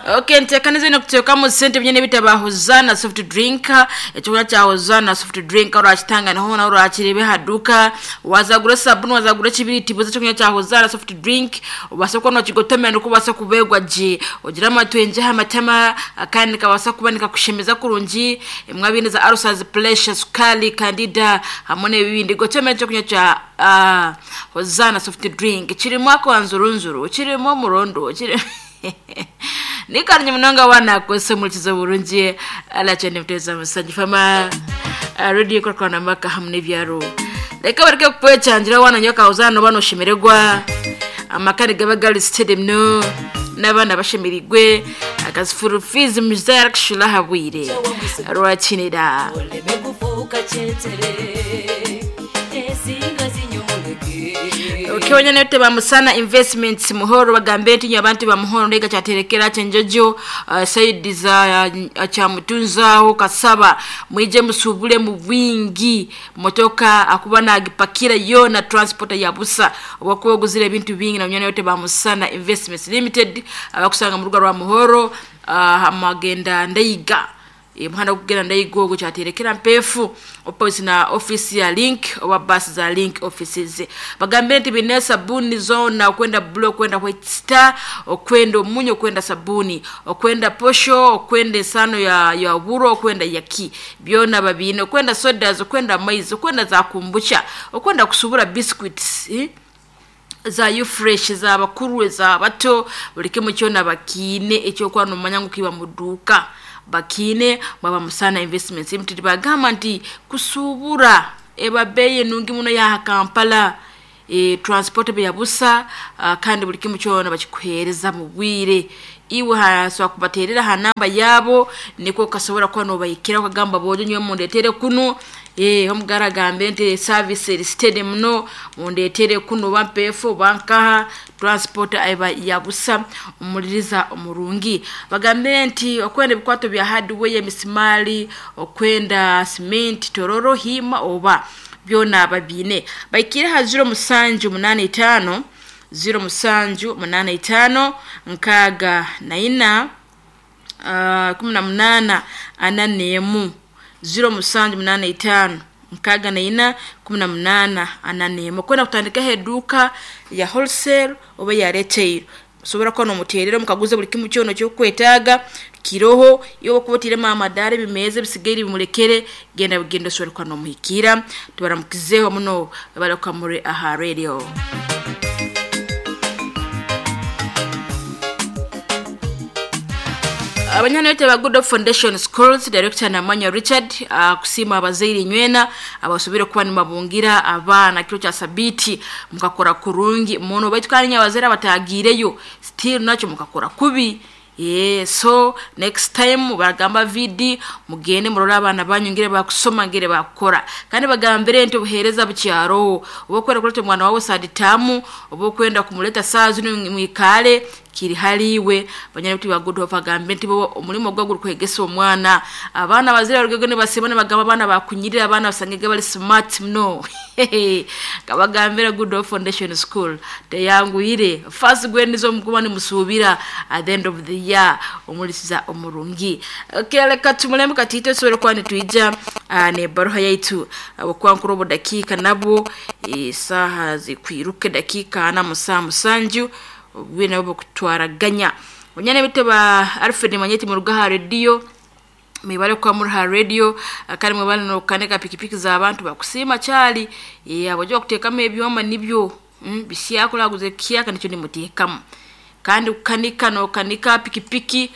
Okay, nteekanize nikuteekamu sente byine bitaba Hosanna soft drink, ekyokunywa kya Hosanna soft drink orakitanga niho hoona orakirebe aha duuka, wazagura esabuni wazagura ekibiriti buza ekyokunywa kya Hosanna soft drink obaase kuba nokigotomera nikwo obaase kubeerwa gye, ogire amatwengye aha matama kandi nikabaasa kuba nikakushemeza kurungi, emwe abaine za ulcers, pressure, sukaari, candida hamwe n'ebindi gotomera ekyokunywa kya Hosanna soft drink kirimu akanzurunzuru, kirimu omurondo, kirimu nikarungi munonga waaba naakukozesa omuhurikiza oburungi Alakye Nemuteza Musangi Fama Radio Ekurakurana Amaka hamwe n'ebyaro. Reka bareke kukwecangira waaba noonywa ka Hosanna nooba nooshemererwa, amaka nigaba gari steady muno n'abaana bashemereirwe, akazifuru fees muzaire arikushashura aha bwire rwakinira. Oleme kufuuka kyetere ensinga zinyomoleke. Okay, wanyana yote ba Musana Investments Muhoro bagambe nti nyo abantu ba Muhoro ndega kyaterekera kyenjojo side za Kyamutunzaho Kasaba mwije musubule mu bwingi motoka akuba nagipakira yona transporter ya busa obakuba oguzire ebintu bingi na munyana yote ba Musana Investments Limited abakusanga mu rugo rwa Muhoro hamagenda Ndeiga muhanda gukugenda Ndeiga ogwo kyaterekera Mpeefu opposite na office ya Link oba bus za Link offices. Bagambire nti bine sabuni zona okwenda blue okwenda white star okwenda omunyo okwenda sabuni okwenda posho okwenda esano ya buro okwenda yaki byona babine okwenda sodas okwenda maizi okwenda za kombucha okwenda kusubura biscuits za ufresh za bakuru za bato buri kimwe kyona bakiine ekyokuba nomanya ngu kiba mu duuka bakiine mwaba Musana Investments Limited bagamba nti kusubura eba beeyi nungi muno yaha Kampala transport eba yabusa kandi buri kimwe kyona bakikuheereza mu bwire iwe hasobola kubateerera aha namba yaabo nikwo okasobora kuba noobahikiraho okagamba boojo nyowe mundeetere kunu omugara agambe nti service eri steady muno mundeetere kunu oba Mpeefu oba nkaha transport eba yabusa omuririza omurungi. Bagambire nti okwenda ebikwato bya hardware emisimaari okwenda cement tororo hiima oba byona babiine. Bahikiire aha 0785 0785 64 18 41 0785 64 18 41 okwenda kutandikaho eduuka ya wholesale oba eya retail osobora kuba nomuteerera omukaguze buri kimwe kyona ekyokwetaaga kiroho iwe okuba otairemu amadaara ebimeeza ebisigaire bimurekere genda bugenda osobore kuba nomuhikiira tubaramukizeho muno barikuba muri aha radio. Abanywana baitu aba Good Hope Foundation Schools Director Namanya Richard akusiima abazaire inywena abasobire kuba nibabungira abaana kiro kya sabiiti mukakora kurungi muno baitu kandi inywe abazaire abataagiireyo still nakyo mukakora kubi so next time baragamba VD mugende murole abaana banyu ngire bakusoma ngire bakukora kandi bagambire nti obuheereza bukyaroho oba okwenda kureeta omwana waawe saditaamu oba okwenda kumureta saaha zinu mwikaale kiri hariiwe banywana baitu ba Good Hope agambe nti bo omurimo gwabo gurikwegesa omwana abaana abazaire barugege nibasiima nibagamba abaana bakunyirira abaana basangege bari smart muno nkabagambira Good Hope Foundation School teyanguhire first grade nizo mukuba nimusuubira at the end of the year omurisiza omurungi. Okay, reka tumurembe katiito tusobore kuba nitwija n'ebaruha yaitu ahabw'okuba nkuru obudakiika nabwo esaaha zikwiruka edakiika ana mu saaha musanju obwire nabwo bukutwaraganya. Banywani baitu ba Alfred Manyeti muruge aha rediyo mwebale kuba muri aha rediyo kandi mwebale n'okukanika pikipiki z'abantu bakusiima kyari ahabw'okuba bakuteekamu ebyoma nibyo bisyaka oraguza ekihyaka nikyo nimuteekamu kandi kukanika nookanika pikipiki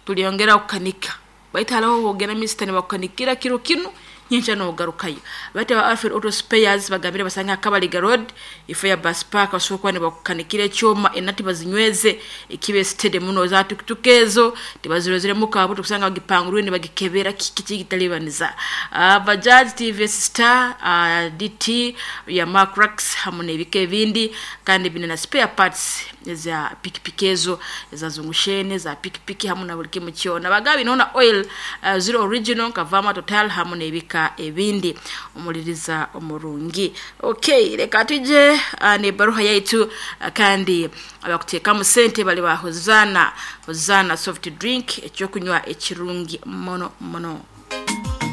turyongera kukanika baitu hariho obu ogenda minisita nibakukanikira kiro kinu nyenkya noogarukayo. Baitu aba Alfred Auto Spares bagambire basange aha Kabaliga Road ifo ya bus park basobora kuba nibakukanikira ekyoma enati bazinyweze ekibe steady muno za tukutuku ezo tibaziroziremu kabuto kusanga bagipangurwire nibagikebera kiki kigitalibaniza. Bajaj TVS Star DT ya Mark Rax hamwe n'ebika ebindi kandi bine na spare parts eza pikipiki ezo eza zungushene za pikipiki hamu na buli kimu kyona. Bagabi nona oil zero original nka Vama Total hamu n'ebika ebindi. Omuliriza omurungi. Okay, reka tuje n'ebaruha yaitu kandi abakuteekamu sente bali ba Hozana, Hozana soft drink ekyokunywa ekirungi muno muno.